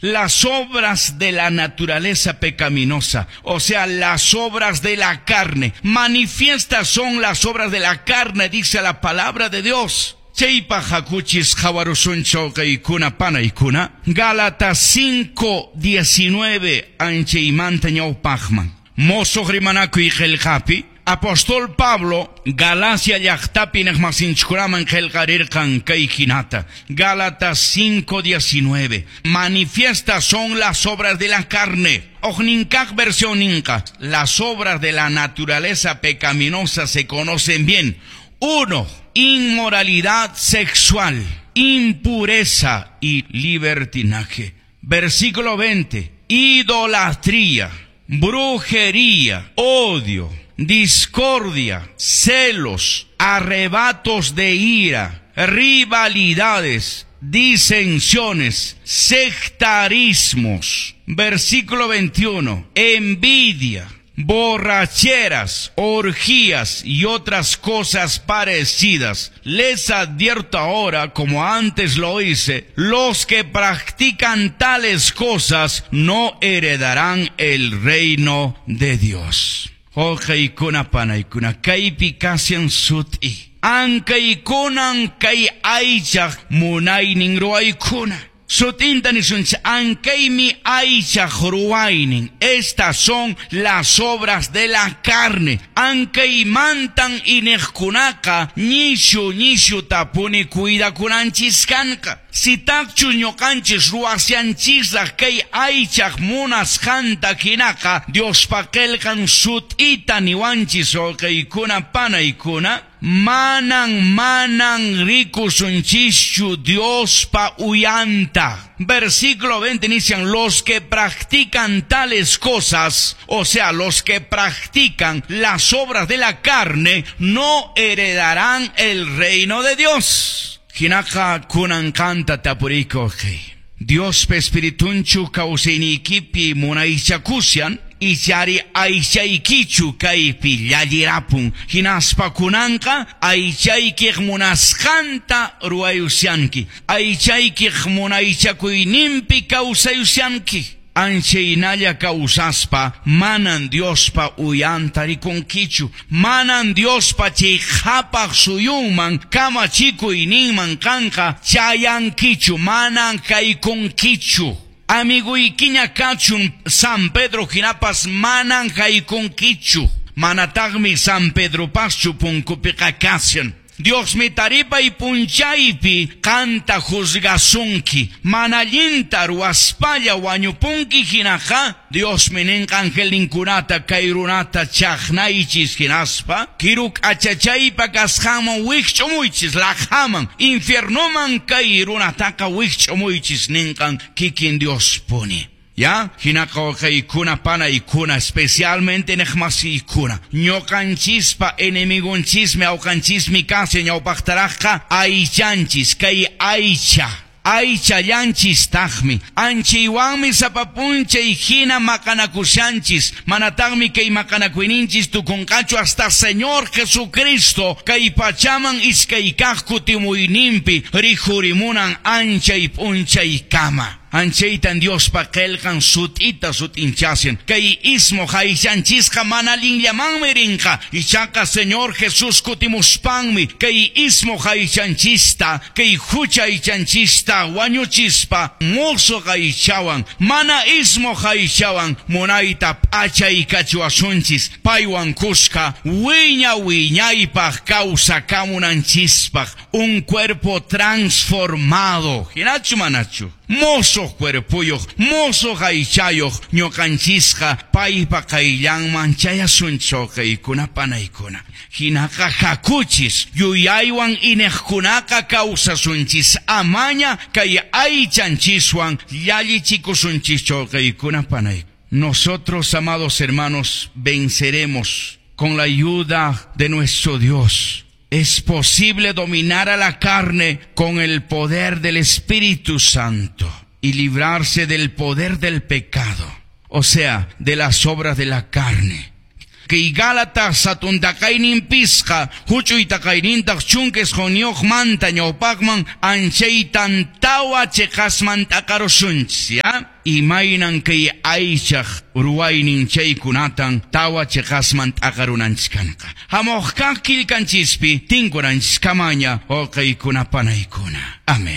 Las obras de la naturaleza pecaminosa, o sea, las obras de la carne. Manifiestas son las obras de la carne, dice la palabra de Dios. Chaypaq hakuchis qhawarusunchik wawqiykuna panaykuna. Gálatas 5:19 anchaymanta ñawpaqman. Mosoq rimanakuy qillqapi apóstol Pablo Galacia llaqtapi iñiqmasinchikkunaman qillqarirqan kay hinata. Gálatas 5:19. Manifiestas son las obras de la carne. Huknin kaq versión ninqa. Las obras de la naturaleza pecaminosa se conocen bien. 1, inmoralidad sexual, impureza y libertinaje. Versículo 20. Idolatría, brujería, odio, discordia, celos, arrebatos de ira, rivalidades, disensiones, sectarismos. Versículo 21. Envidia, borracheras, orgías y otras cosas parecidas. Les advierto ahora, como antes lo hice, los que practican tales cosas no heredarán el reino de Dios. Wawqiykuna panaykuna, kaypi kashan sut'i. Ankaykunan kay aychaq munaynin ruwaykuna. Sut'inta nisunchik ankaymi aychaq ruwaynin. Estas son las obras de la carne. Ankaymantan iñiqkunaqa ñishu ñishutapuni cuidakunanchis kanqa. Sitaqchus ñuqanchis ruwashanchisraq kay aychaq munasqanta hinaqa Diospa qillqan sut'ita niwanchis wawqiykuna panaykuna manan rikusunchischu Diospa uyanta. Versículo 20 inician los que practican tales cosas, o sea, los que practican las obras de la carne, no heredarán el reino de Dios. Hinaqa kunan qanta tapuriyki. Diospa espiritunchu kawsayniykipi munaychakushan ichari aychaykichu kaypi llallirapun hinaspa kunanqa aychaykiq munasqanta ruwayushanki aychaykiq munaychakuyninpi kawsayushanki. Anchaynalla kawsaspa manan Diospa uyanta rikunkichu, manan Diospa chay qhapaq suyunman kamachikuyninman qanqa chayankichu, manan haykunkichu. Amiguykiña kachun San Pedro hinapas manan haykunkichu, manataqmi San Pedropaschu punkupiqa kashan. Diosmi taripay punchaypi qanta juzgasunki, mana allinta ruwaspalla wañupunki hinaqa Diosmi ninqa angelninkunata kay runata chaqnaychis hinaspa kiru k'achachaypa kasqanman wikch'umuychis laqhaman infiernoman kay runataqa wikch'umuychis ninqan kikin Diospuni. Ya, hinaqa wawqiykuna panaykuna, especialmente iñiqmasiykuna. Ñuqanchispa enemigonchismi awqanchismi kashan ñawpaqtaraqqa aychanchis kay aycha. Aychallanchistaqmi. Anchaywanmi sapa p'unchay hina maqanakushanchis. Manataqmi kay maqanakuyninchis tukunqachu hasta Señor Jesucristo kay pachaman iskay kaq kutimuyninpi rikhurimunan anchay p'unchaykama. Anchaytan Diospa qillqan sut'ita sut'inchashan. Kay ismuq aychanchisqa mana allinllamanmi rinqa. Ichaqa Señor Jesús kutimuspanmi kay ismuq aychanchista, kay hucha aychanchista wañuchispa musuq aychawan, mana ismuq aychawan munayta p'achaykachiwasunchis paywan kuska wiña wiñaypaq kawsakamunanchispaq un cuerpo transformado. Hinachu manachu? Mosoq cuerpoyuq, mosoq aychayuq ñuqanchisqa paypa qayllanman chayasunchik wawqiykuna panaykuna. Hinaqa hakuchis yuyaywan iñiqkunaqa kawsasunchis amaña kay aychanchiswan llallichikusunchis wawqiykuna panaykuna. Nosotros, amados hermanos, venceremos con la ayuda de nuestro Dios. Es posible dominar a la carne con el poder del Espíritu Santo y librarse del poder del pecado, o sea, de las obras de la carne. Kay Gálatas hatun taqaynin pisqa huch'uy taqaynintaq 19 manta ñawpaqman anchaytan tawa chiqasman t'aqarusunchis, ¿ya? Imaynan kay aychaq ruwaynin chaykunatan tawa cheqasman t'aqarunanchis kanqa. Hamuq kaq killkanchispi tinkunanchiskamaña wawqiykuna panaykuna. Amén.